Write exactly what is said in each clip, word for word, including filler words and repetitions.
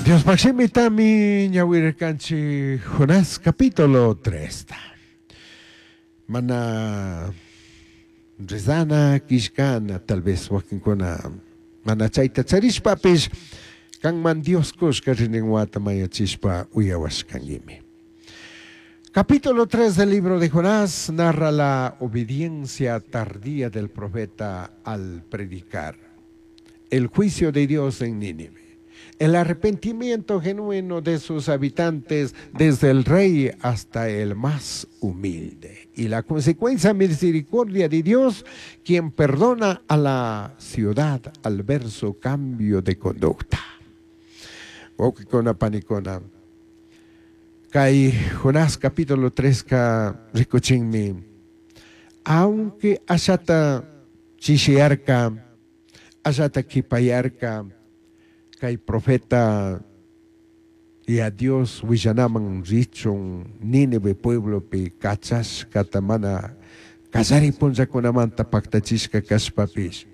Diospaj shimitami ñawirirkanchik Jonás capítulo tres. Mana rezana killkana tal vez wakinkuna mana chayta charishpapish kanman Dios kushka rinrinwata mayachishpa uyawashkanguimi. Capítulo tres del libro de Jonás narra la obediencia tardía del profeta al predicar el juicio de Dios en Nínive, el arrepentimiento genuino de sus habitantes, desde el rey hasta el más humilde, y la consecuencia misericordia de Dios, quien perdona a la ciudad al ver su cambio de conducta. Wawqikuna panikuna, kay Jonás capítulo tres ka rikuchinmi, aunque ashata chishiyarka, ashata kipayarka, kay profeta y a Dios willanaman richun Nínive pueblopi kachashkata mana kallari punllakunamanta paktachishka kashpapish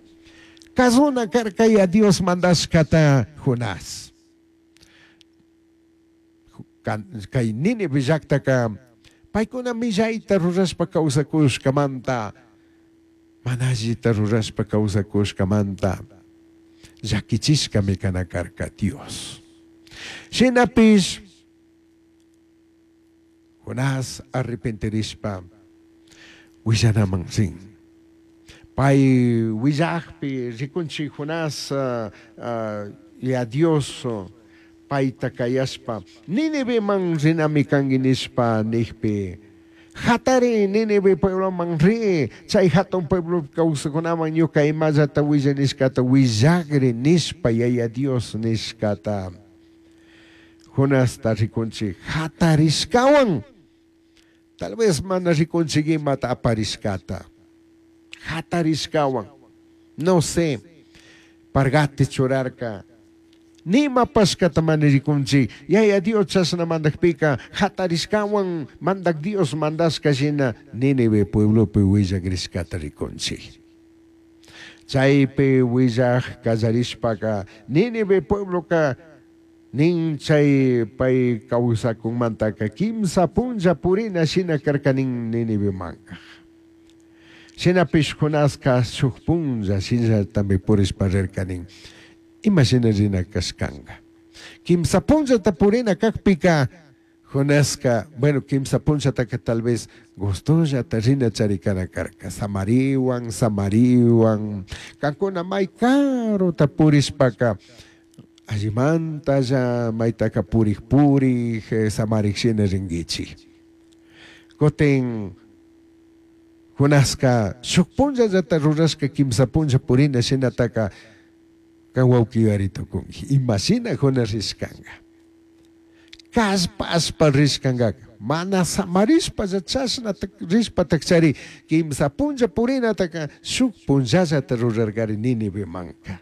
kazuna karka y a Dios mandashkata Jonás. Kay Nínive llaktaka paykuna millayta rurashpa kawsakushkamanta, mana allita rurashpa kawsakushkamanta llakichishkami kana karka Dios. Shinapish Jonás arrepentirishpa willanaman rin. Pay willajpi rikunchik Jonás uh, uh, y a Dios uh, payta kayashpa Níniveman rinami kanki nishpa nijpi hatari Nínive puebloman ri, chay hatun pueblo kawsakunaman ñuka imallata willa nishkata willagri nishpa Yaya Dios nishkata Jonasta rikunchik hatarishkawan, tal vez mana rikunchik imata aparishkata hatarishkawan, no sé, pargate churarka nima pashkata mana rikunchik. Yaya Dios chashna mandakpika hatarishkawan mandak Dios mandashka shina Nínive pueblopi willakrishkata rikunchik. Chaypi willaj kallarishpaka Nínive puebloka nin chay pay kawsakunmantaka kimsa punlla purina shina karka nin Nínivemanka. Shinapish Jonaska shuk punlla shinallatami purishpa rirka nin. Ima shina rina kashkanka. Kimsa punllata purina kakpika Jonaska, bueno, kimsa punllataka tal vez gustollata rina charikana karka. Samariwan, samariwan, kankuna may karuta purishpaka allimantalla maytaka purik purik, samarik shina rinkichik. Kutin Jonaska shuk punllallata rurashka kimsa punlla purina shinataka kan wawqi yuyari tukunki. Ima shina Jonás rishkanka. Kallpashpa rishkankaka. Mana samarishpa chashna rishpa takchari kimsa punlla purinataka shuk punllallata rurarkari Nínivemanka.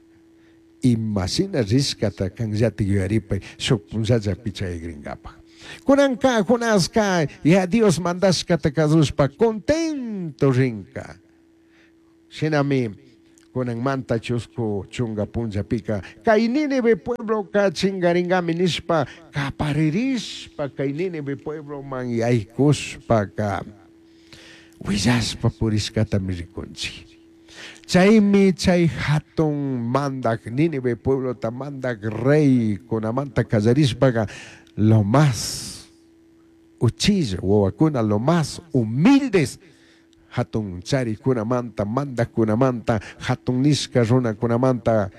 Ima shina rishkata kanllati yuyaripay shuk punllallapi chayagrinkapaj. Kunanka Jonaska ya Dios mandashkata kasushpa contento rinka. Shinami kunanmanta chusku chunga punllapika kay Nínive puebloka chingaringami nishpa kaparirishpa kay Nínive puebloman yaykushpaka willashpa purishkatami rikunchik. Chaymi chay hatun mandak Nínive pueblota mandak rey kunamanta kallarishpaka lo más uchilla wawakuna lo más humildes hatun charikunamanta mandakunamanta hatun nishka runakunamanta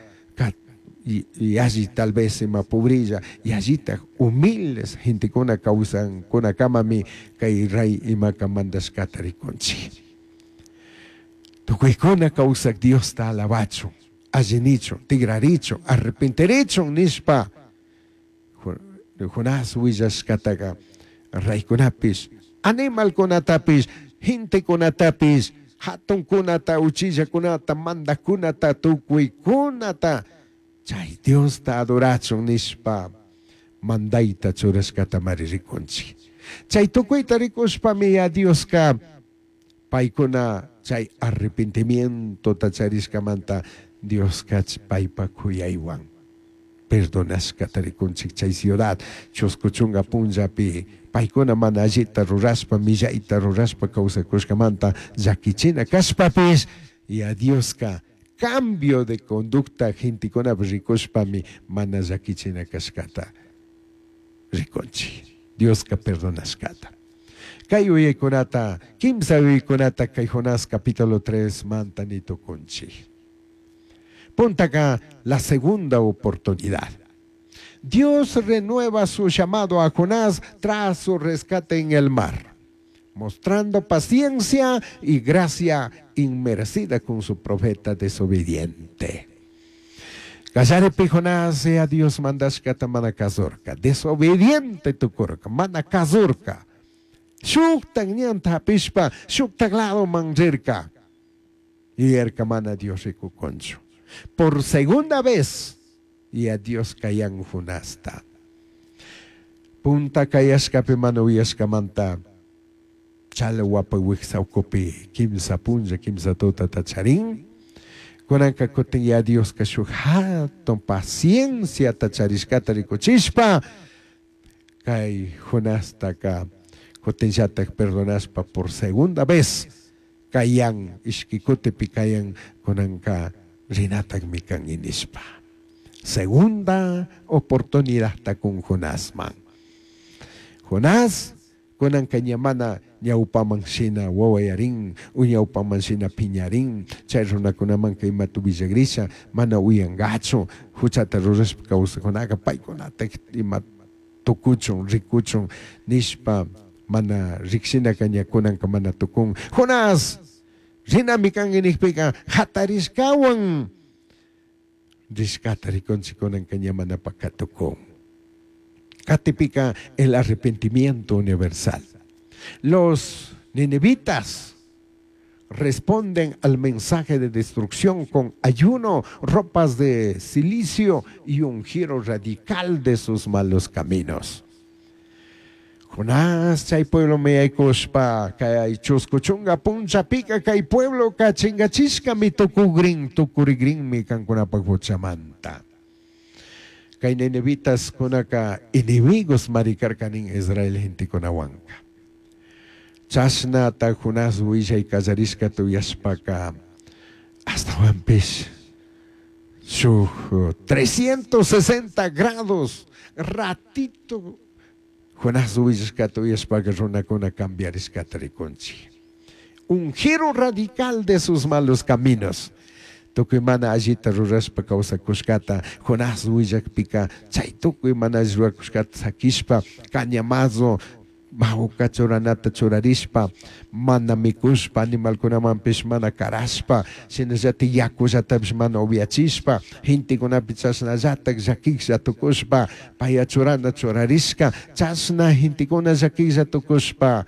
y, y allí tal vez ima pobrilla y allita humildes gentekuna kawsankunakamami kay rey imaka mandashkata rikunchik. Tukuykuna kawsak Diosta alabachun, allinichun, tigrarichun, arrepentirichun nishpa Jonás willashkataka reykunapish, animalkunatapish, gentekunatapish, hatunkunata, uchillakunata, mandakunata, tukuykunata chay Diosta adorachun nishpa mandayta churashkatamari rikunchik. Chay tukuyta rikushpami ya Dioska paykuna chay arrepentimientota charishkamanta Dioska paypa kuyaywan Perdonashkata rikunchik chay ciudad chusku chunka punllapi paykuna mana allita rurashpa millayta rurashpa kawsakushkamanta llakichina kashpapish y a Dioska cambio de conducta gentekunapi rikushpami mana llakichina kashkata rikunchik. Dioska perdonashkata. Kay uyaykunata, kimsa uyaykunata kay Jonás capítulo tres manta nitukunchik. Puntaka la segunda oportunidad. Dios renueva su llamado a Jonás tras su rescate en el mar, mostrando paciencia y gracia inmerecida con su profeta desobediente. Kallaripi Jonás a Dios mandashkata mana kazurka, desobediente tukurka, mana kazurka. Shuktak ñanta hapishpa, shuktak ladoman rirka. Yuyarka mana Dios rikukunchu. Por segunda vez, y a Dios kayan Jonasta. Punta kayashkapi mana uyashkamanta, chalwapa wiksa ukupi kimsa punlla, kimsa tutata charin. Kunanka kutin ya Dioska shuk hatun pacienciata charishkata rikuchishpa, kay Jonastaka kutinllatak perdonashpa por segunda vez, kayan ishki kutipi kayan kunanka rinatakmi kan nishpa. Segunda oportunidad con Jonásman. Jonás, kunanka ña mana ñawpaman shina wawayarin, u ñawpaman shina piñarin, chay runakunamanka imata willagrisha, mana uyangachu, huchata rurashpa kawsajkunaka paykunata ima tukuchun, rikuchun, nishpa mana rikshinaka ña kunanka mana tukun. Jonás, rinami kanki nijpika hatarishkawan, rishkata rikunchik kunanka ña mana pakatukun. Katipika el arrepentimiento universal. Los ninivitas responden al mensaje de destrucción con ayuno, ropas de cilicio y un giro radical de sus malos caminos. Jonás, chay pueblo me aykushpa, kay chusku chunka punllapika kay pueblo ka chingachishkami tukugrin, tukurigrinmi kankunapak huchamanta. Kay ninivitas kunaka enemigos marikarkanin Israel gentekunawanka. Chashnata Jonás willay kallarishkata uyashpaka ashtawanpish shuk trescientos sesenta grados ratito Jonás willashkata uyashpaka runakuna cambiarishkata rikunchik. Un giro radical de sus malos caminos. Tukuy mana allita rurashpa kawsakushkata Jonás willakpika chay tukuy mana alli rurakushkata sakishpa cañamazo mawka churanata churarishpa mana mikushpa animalkunamanpish mana karashpa shinallatik yakullatapish mana upiachishpa gentekunapi chashnallatak llakiklla tukushpa paya churana churarishka chashna gentekuna llakiklla tukushpa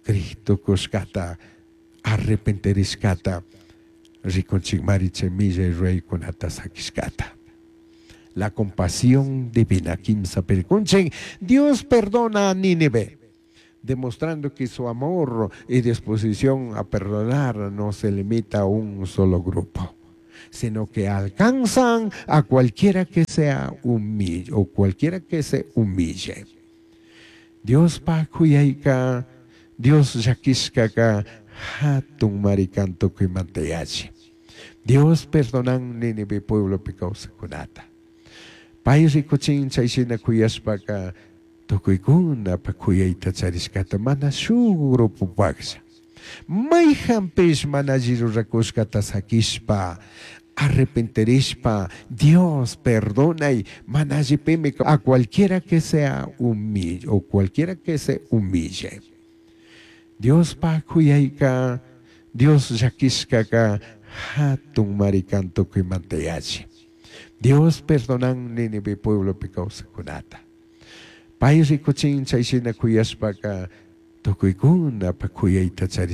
krik tukushkata arrepentirishkata rikunchikmari chay millay ruraykunata sakishkata. La compasión divina, kimsa pirkunchik, Dios perdona a Nínive, demostrando que su amor y disposición a perdonar no se limita a un solo grupo, sino que alcanzan a cualquiera que sea humille o cualquiera que se humille. Dios pa kuyayka, Dios llakishkaka hatun marikan tukuymanta yachi. Dios perdonan Nínive pueblopi kawsakunata. Pay rikuchin chay shina kuyashpaka tukuykuna pa kuyayta charishkata mana shuk grupupaklla. Mayjanpish mana alli rurakushkata sakishpa, arrepentirishpa, Dios perdonay, mana allipimi a cualquiera que sea humille o cualquiera que se humille. Dios pa kuyayka, Dios llakishkaka hatun marikan tukuymanta yachi. Dios perdonan Nínive pueblopi kawsakunata. Pay rikuchin chay shina kuyashpaka tukuykuna pa kuyayta charishkata.